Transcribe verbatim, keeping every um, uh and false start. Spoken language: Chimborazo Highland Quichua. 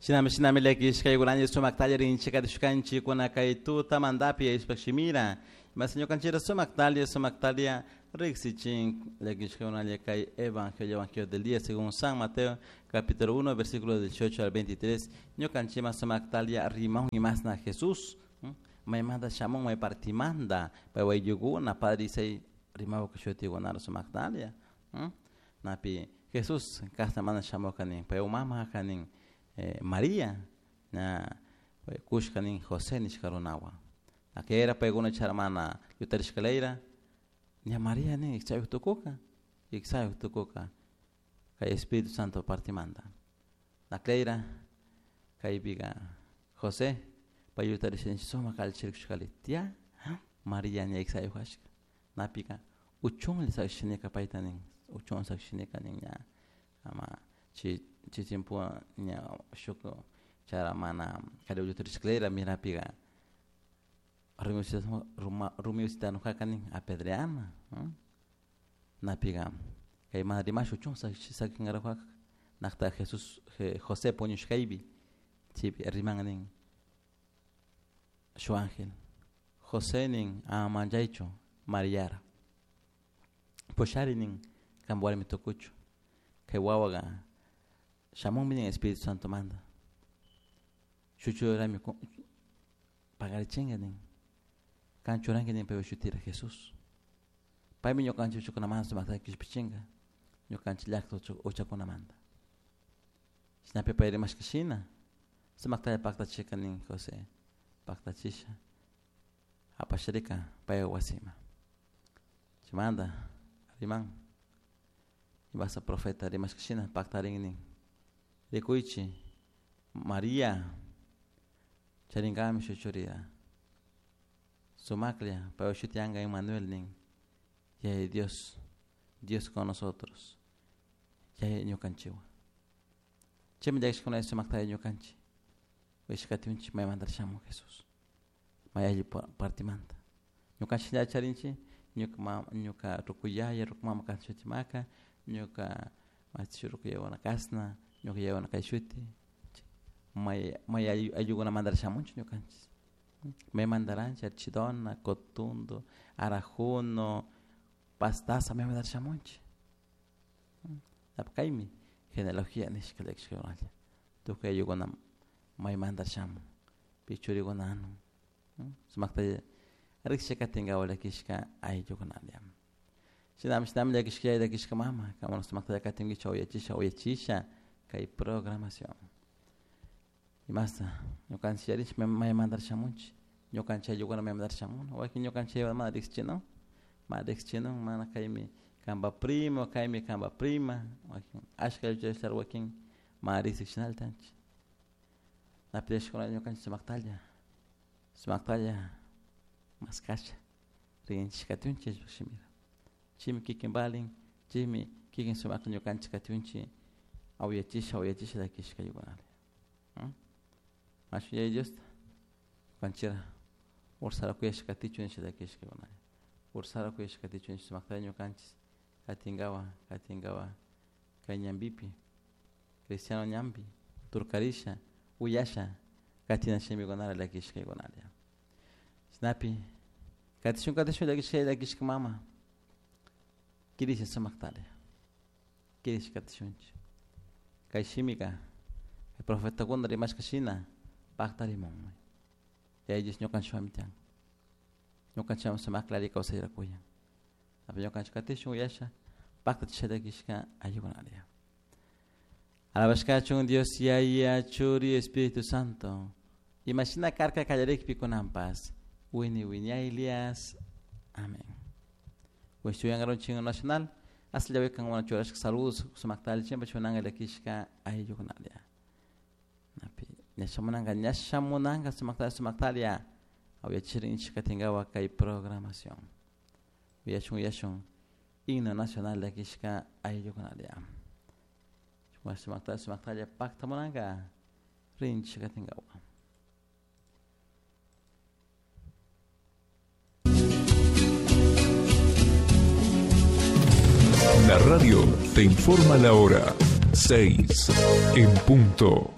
Shinami shinami llakishkaykunalla sumaktalla rinchikatishkanchik kay tuta mandapi ishpashimira mas ñukanchira sumaktalla sumaktalla riksichin llakishkaykunalla kay evangelio evangelio del día según San Mateo capítulo uno versículo dieciocho al veintitrés ñukanchima sumaktalla rimaun imasna Jesús maymanta shamun may partimanta paywayllikuna padre Isai rimaw kashutikunara sumaktalla napi Jesús kashna mana shamurka nin pay mama kanin Eh, María na kushka nin José nishka runawan akera paykuna charmana yutarishkalayra ña María nin iksayuq tukuka iksayuq tukuka kay Espíritu Santo partimanta naklayra kaypiqa José pay yutarisha sumaq allichirkushkali tía María ña iksayuq kashka napika uchunlla sakishinika payta nin uchun sakishinika nin ña ama chi chi tiempo ña shuk chara mana kari yutarishkalayra mirapiqa rumiusitanuqaka nin apedreana napiqa kay mana rimash uchun sakinqaraqqa naqta Jesús José puñushkaypi chaypi riman nin shu ángel José nin ama manchaychu Mariara pushari nin qanpa warmi tukuchu kay wawaqa shamunmi nin Espíritu Santo manta shuchurami pagarichinqa nin kan churanki nin paypa shutira Jesús paymi ñukanchik uchakunamanta sumaqta qishpichinqa ñukanchik llaqta uchakunamanta chaynapi pay rimashka shina sumaqtalla paqtachika nin José paqtachisha apasharika paypa wasima chaymanta riman imasa profeta rimashka shina paqtarin nin rikuychi María charinkami shuk churira sumaklla paypa shutiyanqa Emmanuel nin Yaya Dios Dios con nosotros Yaya ñukanchikwan chaymi llakishkunalla sumaqtalla ñukanchik wishkatiunchik maymanta shamun Jesús may alli partimanta ñukanchik lla charinchik ñuka mama ñuka rukuyaya ruku mama kasna shutimaka ñuka machi rukuyayakuna kasna ñuka yayakuna kay shuti may may ayllukunamanta shamunchik ñukanchik maymantaranchik Archidona, Cotundo, Arajuno, Pastaza maymanta shamunchik kaymi genealogía nishka llakishkakunalla tukuy ayllukuna maymanta shamun pi churikuna anun sumakta riksha katinkawa llakishka ayllukunalla shinami shinami llakishka llakishka mama kamuna sumakta katinkichik uyachisha uyachisha kay programación imasta ñukanchik yarinchik maymanta shamunchik ñukanchik ayllukuna maymanta shamun wakin ñukanchik mana riqsichinun mana riqsichinun mana kaymi kanpa primo kaymi kanpa prima wakin ashka aylluchashlar wakin mana riqsikchinalla tanchik napi llakishkuna ñukanchik sumaqtalla sumaqtalla maskasha rinchik katiunchik shimira chaymi kikin valin chaymi kikin sumaqta ñukanchik katiunchik awyachisha awyachisha llakishka ayllukunalla Machu Yaya Diosta ñukanchira ursara kuyashka katichun nisha llakishkakunalla ursara kuyashka katichun nisha sumaqtalla ñukanchik katinkawa katinkawa kay ñanpipi cristiano ñanpi turkarisha uyasha katina shimikunara llakishkaykunalla chaynapi katishun katishun llakishka llakishka mama kirisha sumaqtalla kirisha katishunchik kay shimika profetakuna rimashka shina paqtarimunmi Yaya Dios ñukanchikwanmi tiyan ñukanchikwan sumakla alli kawsayra kuyan napi ñukanchik katishun uyasha paqtachisha llakishka ayllukunalla alabashkachun Dios Yaya Churi Espíritu Santo imashina karka kallarikpi kunanpas wini wiñaylias amén Wishchuyankaronchik nacional asllawikan wana churashka saludos sumakta allichinpa chunanka llakishka ayllukunalla napi ñashamunanka ñashamunanka sumaqtalla sumaqtalla awyachirinchik katinkawa kay programación uyashun uyashun himno nacional llakishka ayllukunalla sumaqtalla sumaqtalla paqtamunanka rinchik katinkawa. La radio te informa la hora seis en punto.